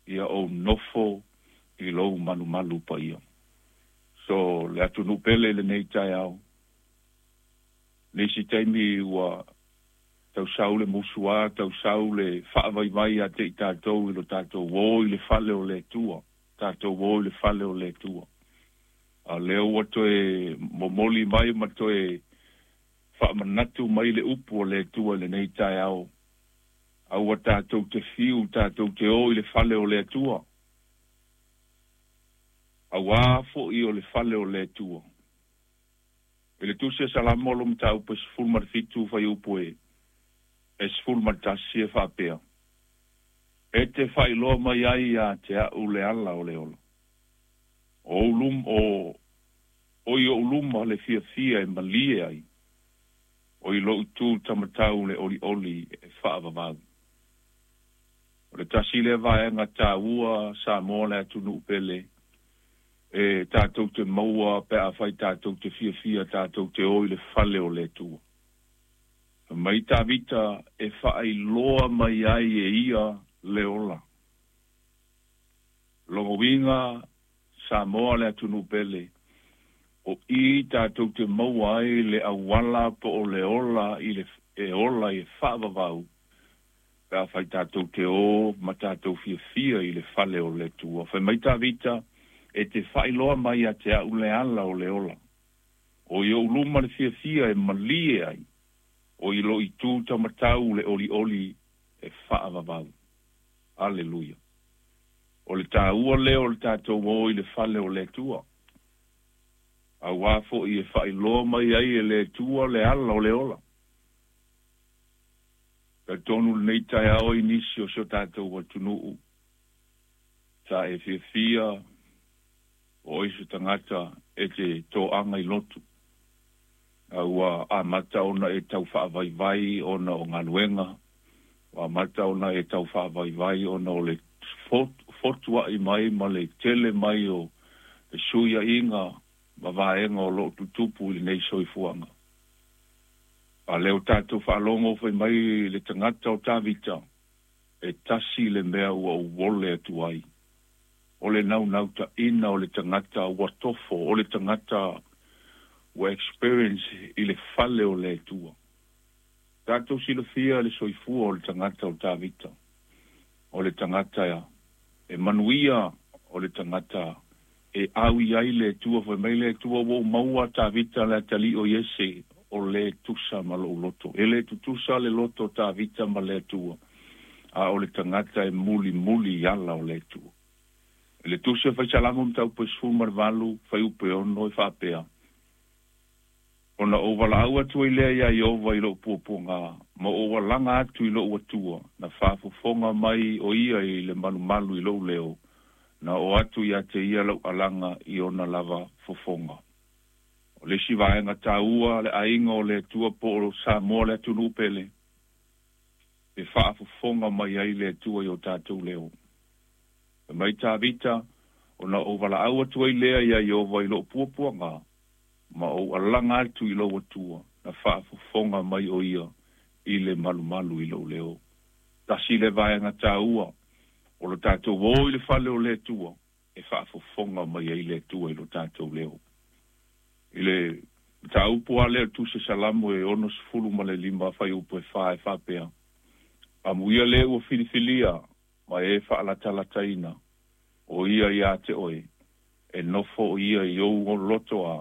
Ia ou nofo i lou malumalu paia. So, le atunuu pele i lenei taeao, nisi taimi ua tausau le musuā, tausau le faavaivai ia te i tatou i lo tatou o i le fale o le Atua, tatou o i le fale o le Atua. A o lea ua toe momoli mai ma toe faamanatu mai le upu o le Atua i lenei taeao, aua tatou te fiu tatou te o i le fale o le Atua, auā foi o le fale o le Atua. I le Tusi a Salamo lo mataupu e 17 fuaiupu e 11 e faapea, E te faailoa mai ai ia te a'u le ala o le ola. O ou lum, o, o i o'u luma le fiafia e malie ai, o i lo'u itu tamatau le olioli e faavavau. O le tasi lea vaega taua Samoa le atunuu pele e tatou te maua pe afai tatou te fiafia tatou te o i le fale o le Atua. Fai mai Tavita e faailoa mai ai e ia le ola. Lona uiga Samoa le atunuu pele, o i tatou te maua ai le auala po o le ola i le e ola i e faavavau pe afai tatou te o ma tatou fiafia i le fale o le Atua. Fai mai Tavita, E te faailoa mai ia te a'u le ala o le ola. O i o'u luma le fiafia e malie ai, o i lou itu tamatau le olioli e faavavau. Aleluia! O le taua lea o le tatou o i le fale o le Atua, auā foi e faailoa mai ai e le Atua le ala o le ola. Talitonu lenei taeao i nisi o si o tatou atunuu sa e fiafia o oe se tagata e te toaga i lotu, a ua amata ona e tau faavaivai ona o galuega, ua amata ona e tau faavaivai ona o le fotua'i mai ma le tele mai o fesuia'iga ma vaega o lo o tutupu i lenei soifuaga. A lea ua tatou faalogo fai mai le tagata o Tavita, E tasi le mea ua ou ole atu ai, o le naunautaiga o le tagata ua tofo, o le tagata ua experience i le fale o le Atua. Tatou silafia le soifua o le tagata o Tavita, o le tagata e manuia, o le tagata e au i ai le Atua. Fai mai le Atua, Ua ou maua Tavita le atalii o Iese, o le tusa ma lou loto. E le tutusa le loto o Tavita ma le Atua, a o le tagata e mulimuli i ala o le Atua. I le Tusi a Faisalamo mataupu e 18, fuaiupu e 6 e faapea, Ona ou valaau atu ai lea iā Ieova i lou puapuagā, ma ou alaga atu i lou Atua, na faafofoga mai ʻo ia i le malumalu i lou leo, na oo atu ia te ia lau alaga i ona lava fofoga. O le isi vaega taua a le aiga o le Atua po o Samoa le atunuu pele, e faafofoga mai ai le Atua i o tatou leo. Fai mai Tavita, Ona ou valaau atu ai lea iā Ieova i lou puapuagā, ma ou alaga atu i lou Atua, na faafofoga mai ʻo ia i le malumalu i lou leo. Tasi le vaega taua o lo tatou o i le fale o le Atua e faafofoga mai ai le Atua i lo tatou leo. I le mataupu lava lea o le Tusi Salamo e 65 fuaiupu e 4 e faapea, Amuia le ua filifilia ma e faalatalataina, ʻo ia iā te ʻoe, e nofo ʻo ia i ou loto a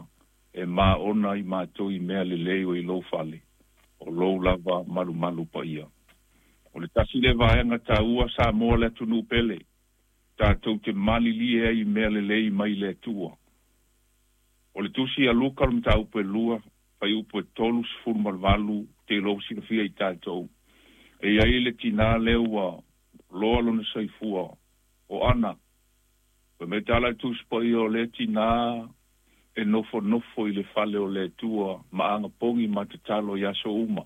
e māʻona i matou i mea lelei o i lou fale, o lou lava malumalu paia. O le tasi lea vaega taua Samoa le atunuu pele, tatou te malilie ai i mea lelei mai le Atua. O le Tusi a Luka o le mataupu e 2, fuaiupu e 38, te iloa ua silafia i tatou. E i ai le tinā lea ua loa lona soifua, o Ana. Fai mai tala i Tusi Paia o lea tinā e nofonofo i le fale o le Atua ma agapogi ma tatalo i aso uma.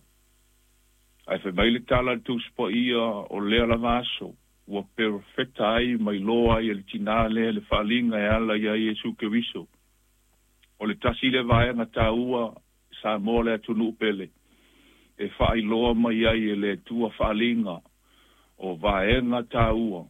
Ae fai mai le tala i le Tusi Paia o lea lava aso ua perofeta ai ma iloa ai e le tinā lea le faaaliga e ala iā Iesu Keriso. O le tasi lea vaega taua Samoa le atunuu pele e faailoa mai ai e le Atua faaaliga o vaega taua.